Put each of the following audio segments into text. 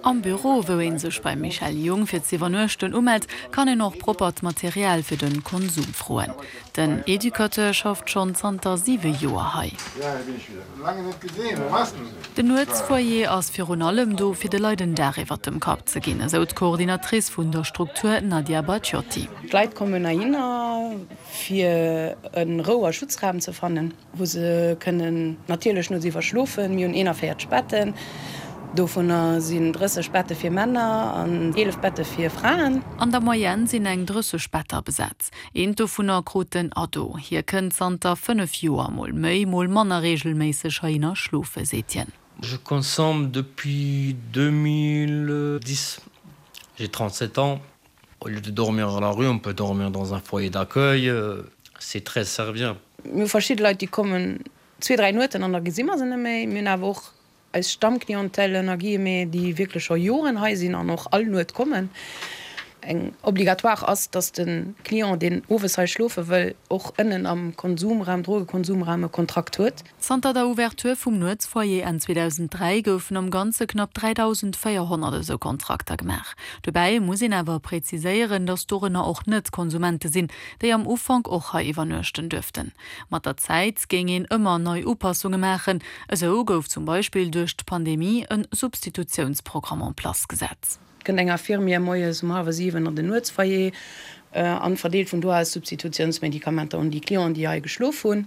Am Büro, wou ee sech beim Michèle Jung fir z'iwwernuechten umellt, kann een och proppert Material fir de Konsum froen. Den Educateur schafft schonn zanter siwe Joer hei. Den Nuetsfoyer ass virun allem do, fir de Leit en Daach iwwert dem Kapp ze ginn, esou d'Coordinatrice vun der Struktur Nadia Bacciotti. D'Leit kommen heihinner, fir e Rou a Schutzraum ze fannen. wou se kënnen natierlech nuets iwwerschlofen. Mir hunn 41 Betten, dovunner sinn 30 Bette fir Männer an 11 Bette fir Fraen. An der Moyenne sinn eng 30 Better besat. Eent dovunner krut den Ado. Hie kënnt zanter 5 Joer, mol méi, mol manner reegelméisseg heihinner schlofen, seet hien. Je consomme depuis 2010, j'ai 37 ans. Au lieu de dormir à la rue, on peut dormir dans un foyer d'accueil, c'est très serviable. Mir hu verschidde Leit, déi kommen zwee, dräi Nueten an da gesi mer se net méi. Mir hunn awer och eis Stammclientèle, ënner Guillemets, déi wierklech scho Joren hei sinn an och all Nuet kommen. Eng obligatoire ass, dass de Client, deen owes hei schlofe wëll, och ënnen am Konsumraum, Drogekonsumraum e Kontrakt huet. Zanter der Ouverture vum Nuetsfoyer Enn 2003 goufen am Ganze knapp 3.400 esou Kontrakter gemaach. Dobäi muss een awer präziséieren, datt dorënner och Net-Konsumente sinn, déi am Ufank och hei iwwernuechten duerften. Mat der Zäit géing een ëmmer nei Upassunge maachen. Esou gouf zum Beispill duerch d'Pandemie e Substitutiounsprogramm en place gesat. Kënnt eng Infirmière moies um hallwer 7 an den Nuetsfoyer an verdeelt vun do aus Substitutiounsmedikamenter un déi Clienten, déi hei geschlof hunn.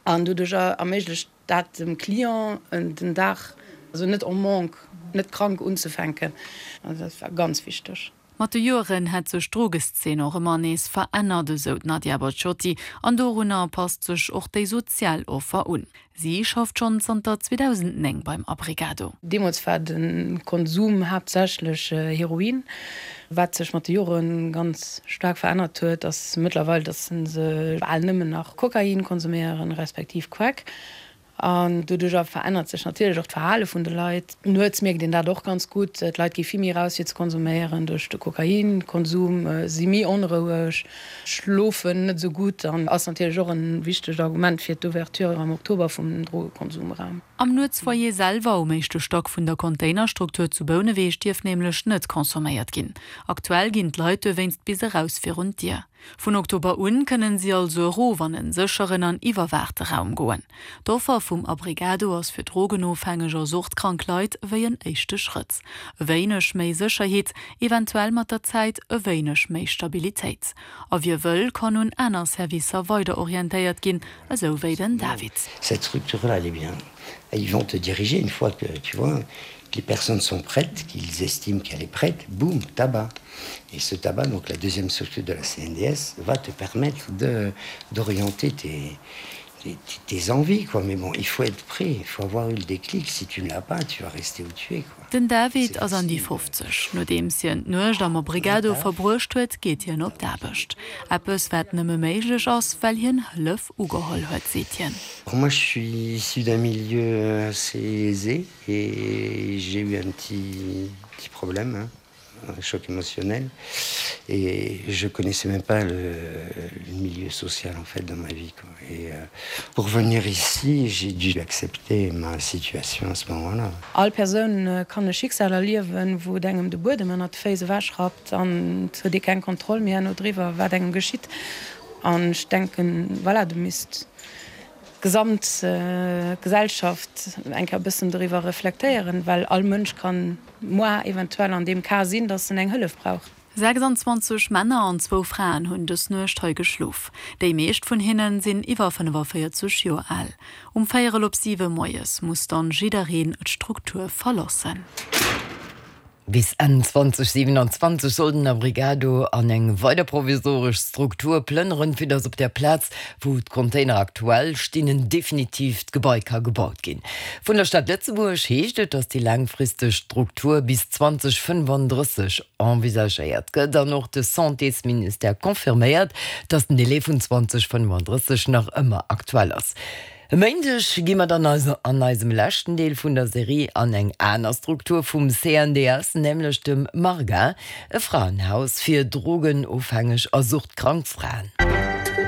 An doduercher erméiglecht dat dem Client den Dag, also net en manque, net krank unzefänken. Also dat war ganz wichteg. Mat de Joeren hätt sech d'Drogeszeen och ëmmer nees verännert, esou d'Nadia Bacciotti. An dorunner passt sech och déi sozial Offer un. Si schafft schonn zanter 2009 beim Abrigado. Deemools war de Konsum haaptsächlech Heroin. Wat sech mat de Jore ganz staark verännert huet, ass mëttlerweil, datt se bal nëmmen nach Kokain konsuméieren, respektiv Crack. An doduercher verännert sech natierlech och d'Verhale vun de Leit. Nuets mierkt een dat och ganz gutt, d'Leit gi vill méi eraus fir ze konsuméieren. Duerch de Kokainkonsum si méi onroueg, schlofen net esou gutt an ass natierlech och e wichtegt Argument fir d'Ouverture am Oktober vum Drogekonsumraum. Am Nuetsfoyer selwer, um éischte Stack vun der Containerstruktur zu Bouneweg, dierf nämlech net consomméiert ginn. Aktuell ginn d'Leit dowéinst bis eraus virun d'Dier. Vun Oktober un kënnen si also erof an en sécheren an iwwerwaachte Raum goen. D'Offer vum Abrigado ass fir drogenofhängeg a suchtkrank Leit wéi en éischte Schrëtt. E wéineg méi Sécherheet, eventuell mat der Zäit e wéineg méi Stabilitéit. A wie wëll, kann un aner Servicer weider orientéiert ginn, esou wéi den David. Cette structure-là, elle est bien. Ils vont te diriger une fois que, tu vois, que les personnes sont prêtes, qu'ils estiment qu'elle est prête, boum, tabac. Et ce tabac, donc la deuxième structure de la CNDS, va te permettre de, d'orienter tes, tes, tes envies, quoi. Mais bon, il faut être prêt, il faut avoir eu le déclic. Si tu ne l'as pas, tu vas rester où tu es, quoi. Den David ass an déi 50. Nodeems hien d'Nuecht am Obrigado verbruecht huet, geet hien op d'Aarbecht. Eppes, wat nëmme méiglech ass, well hien Hëllef ugeholl huet, seet hien. Moi je suis issu d'un milieu assez aisé et j'ai eu un petit petit problème, hein. un choc émotionnel et je connaissais même pas le, le milieu social en fait dans ma vie quoi. Et euh, pour venir ici, j'ai dû accepter ma situation à ce moment-là. All Persoun kann e Schicksal erliewen, wou et engem de Buedem ënnert de Féiss ewechrappt an et huet ee keng Kontroll méi herno driwwer, wat engem geschitt. An ech denken, voilà, do misst d'gesamt Gesellschaft eng Kéier e bëssen doriwwer reflektéieren, well all Mënsch kann moi eventuell an deem Cas sinn, dass en eng Hëllef brauch. 26 Männer an zwou Fraen hunn dës Nuecht hei geschlof. Déi meescht vun hinnen sinn iwwer 45 Joer al. Um véierel op siwe moies muss dann jiddereen d'Struktur verloossen. Bis Enn 2027 soll den Abrigado an eng weider provisoresch Struktur plënneren, fir datt op der Plaz, wou d'Container aktuell stinn, en definitiivt Gebai ka gebaut ginn. Vun der Stad Lëtzebuerg heescht et, datt déi laangfristeg Struktur bis 2035 envisagéiert gëtt. An och de Santésministère confirméiert, datt den Delai vun 2035 nach ëmmer aktuell ass. E Méindeg gi mer dann also an eisem leschten Deel vun der Serie an eng aner Struktur vum CNDS, nämlech dem MARGA, e Fraenhaus fir drogenofhängeg a suchtkrank Fraen.